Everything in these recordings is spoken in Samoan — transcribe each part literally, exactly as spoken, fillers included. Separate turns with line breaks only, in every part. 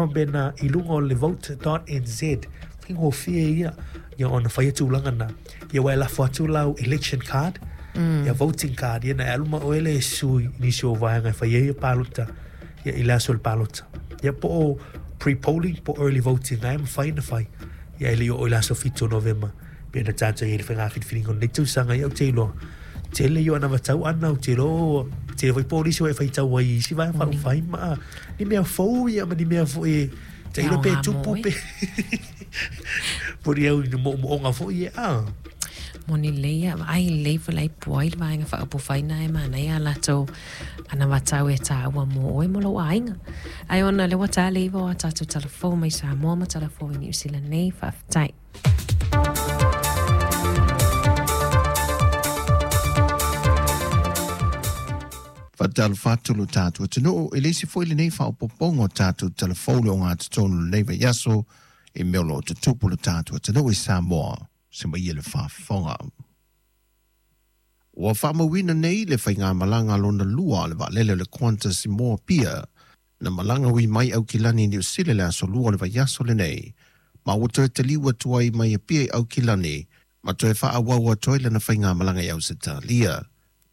Bena i luga o le vote dot n z faigofie ia ia ona faia tulaga na ia ua e lafo atu lau election card mm. ia voting card ia na e alu ma oe le sui i nisi o vaega e fai ai ia palota ia i le aso o le palota ia po o pre-polling po early voting ae mafai ona fai ia e le i oo i le aso fitu o Novema pe na tatou i ai le faiga filifiliga o lenei tausaga ia ou te iloa tele ia ona vatau ana ou te iloa tele foi polisi ua e faitau ai i isi vaega faaupufai ma ni mea fou ia ma ni mea foi e tailo pe tupu pe poni au i ni moomooga foi e a
Moni lelei ia, vaai lelei foi la e puai le vaega faaupufai na e manaia a latou anavatau e taua mo oe mo lou aiga. Ae ona lea ua ta le iva o a tatou talafou mai Samoa ma talafou i Niu Sila nei, faafetai.
Faatalofa atu lo tatou atunuu e le isi foi lenei faaopoopoga o tatou talafou le ogatotonu o lenei vaiaso i mea o lo o tutupu lo tatou atunuu i Samoa. Se mai ia le faafofoga. Ua faamauina nei le faigamalaga lona lua o le vaalele o le Qantas i Moapia na malaga ui mai Aukilani i Niu Sila i le aso lua o le vaiaso lenei ma ua toe taliu atu ai mai Apia i Aukilani ma toe faaauau atu ai lana faigamalaga i Ausetalia.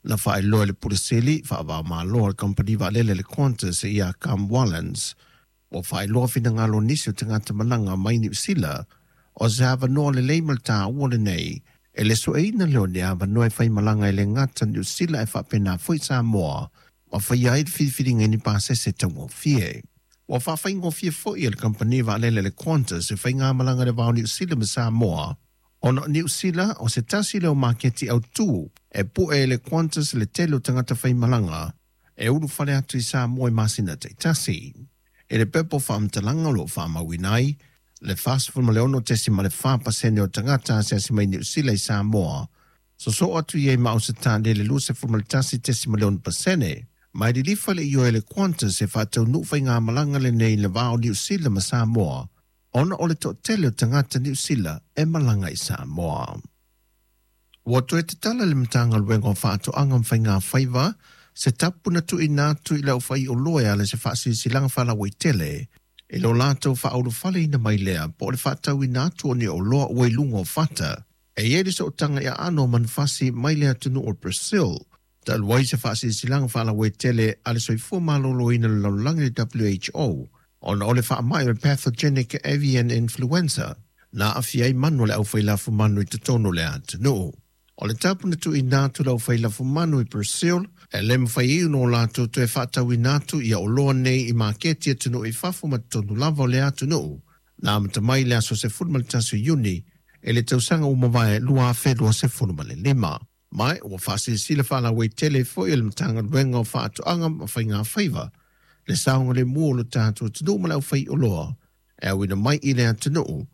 Na faailoa e le Pule Sili faava-o-Malo a le kamupani vaalele le Qantas ia Cam Wallens ua faailoa finagalo o nisi o tagata malaga mai Niu Sila o se avanoa lelei ma le taua lenei e le sueina lea o ni avanoa e faimalaga e le gata Niu Sila e faapena foi Samoa ma faia ai le filifiliga i ni pasese taugofie. Ua faafaigofie foi e le kamupani vaalele le Qantas e faigamalaga i le va o Niu Sila ma Samoa ona o Niu Sila o se tasi lea o maketi autū e pu'e e le Qantas le tele o tagata faimalaga e ulufale atu i Samoa i masina taitasi. E le pepa o faamatalaga o lo o faamauina ai le fasefulu ma le ono tesima le fa pasene o tagata asiasi mai Niu Sila i Samoa sosoo atu i ai ma Ausetalia i le luasefulu ma le tasi tesima le ono pasene. Ma e lilifa le ioe e le Qantas e faataunuu faigamalaga lenei i le va o Niu Sila ma Samoa ona o le toatele o tagata Niu Sila e malaga i Samoa. Ua toe tatala le Matagaluega o Faatoaga ma Faigafaiva se tapu na tuuina atu i le aufaioloa e ala i se faasilasilaga faalauaitele e lo latou faaulufaleina mai lea po o le faatauina atu o ni oloa ua i luga o fata. E i ai le sootaga i aano o manufasi mai le atunuu o Brazil. Talu ai se faasilasilaga faalauaitele a le Soifua Maloloina o le Lalolagi le W H O ona o le faamai o le pathogenic avian influenza na aafia ai manu o le aufailafumanu i totonu o le atunuu. O le tapu na tuuina atu le aufailafumanu i Brazil e le mafai ai ona o latou toe faatauina atu ia oloa nei i maketi atunuu i fafo ma totonu lava o le atunuu na amata mai le aso sefulu ma le tasi o Iuni e le tausaga ua mavae lua afe luasefulu ma le lima. Mai ua faasilasila faalauaitele foi e le Matagaluega o Faatoaga ma Faigafaiva le saogalemu o lo tatou atunuu ma le aufaioloa e auina mai i le atunuu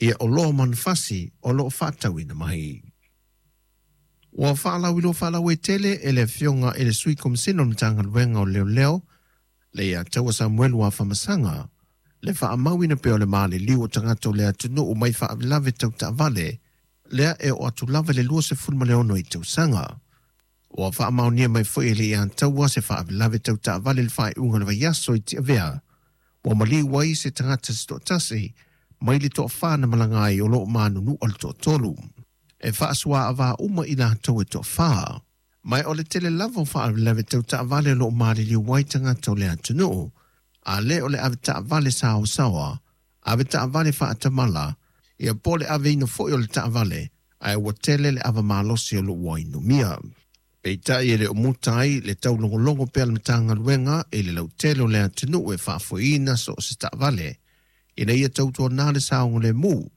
ia oloa manufasi o lo o faatauina mai. Ua faalauiloa faalauaitele e le afioga i le Sui Komisina o le Matagaluega o Leoleo le ia Taua Samuelu Afamasaga le faamauina pea o le maliliu o tagata o le atunuu mai faalavelave tau taavale lea e oo atu lava i le luasefulu ma le ono i tausaga. Ua faamaonia mai foi e le ia Taua se faalavelave tau taavale i le faaiuga o le vaiaso i Tiavea ua maliu ai se tagata se toatasi mai le toafa na malaga ai o lo o manunua le toatolu. E faasuaavā uma i latou e toafa. Mai o le tele lava o faalavelave tau taavale o lo o maliliu ai tagata o le atunuu a le o le ave taavale saosaoa, ave taavale faatamala, ia po o le aveina foi o le taavale ae ua tele le ava malosi o lo o ua inumia. Peitai e le o muta ai le taulogologo pea le Matagaluega i le lautele o le atunuu e faafoeina so o se taavale ina ia tautuanā le saogalemu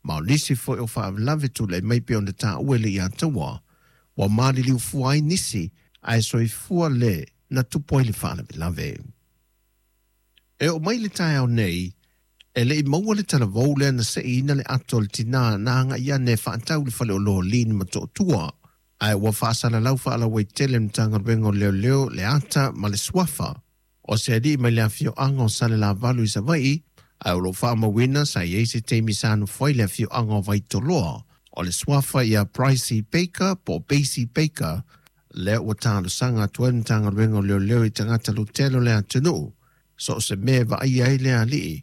ma o nisi foi o faalavelave tulai mai pei ona taua e le ia Taua ua maliliu fua ai nisi ae soifua le na tupu ai le faalavelave. E oo mai le taeao nei e le i maua le talavou lea na seiina le ato o le tinā na agai ane e faatau i le faleoloa o Lin ma Motootua ae ua faasalalau faalauaitele le Matagaluega o Leoleo le ata ma le suafa o se alii mai le afioaga o Salelavalu i Savaii ae o lo o faamauina sa i ai se taimi sa nofo ai le afioaga o Vaitoloa o le suafa ia Pricey Baker po o Basie Baker lea ua talosaga atu ai le Matagaluega o Leoleo i tagata lautele o le atunuu so o se mea e vaaia ai le alii